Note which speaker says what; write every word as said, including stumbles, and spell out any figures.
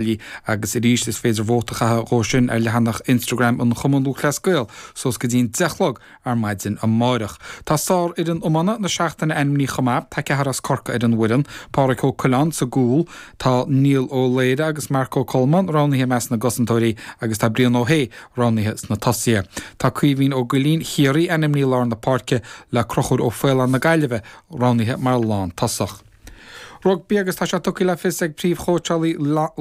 Speaker 1: Agus arís is féidir vóta a chaitheamh dhó sin ar leathanach Instagram an Chumann Lúthchleas Gael suas go dtí'n deich a chlog ar maidin amárach. Tá sárfhoireann iomána na seachtaine ainmnithe chomh maith, tá ceathrar as Corcaigh ar an bhfoireann, Pádraic Ó Coileáin sa gcúl, tá Niall Ó Laoire agus Marc Ó Colmáin roghnaithe i measc na gcosantóirí agus tá Brian Ó hAodha roghnaithe sna tosaithe. Tá Caoimhín Ó Goillín Chiarraí ainmnithe i lár na páirce le Conchúr Ó Faoláin na Gaillimhe roghnaithe mar lántosach. Rugbaí agus tá sé tugtha le fios ag príomhchóitseálaí Laighean,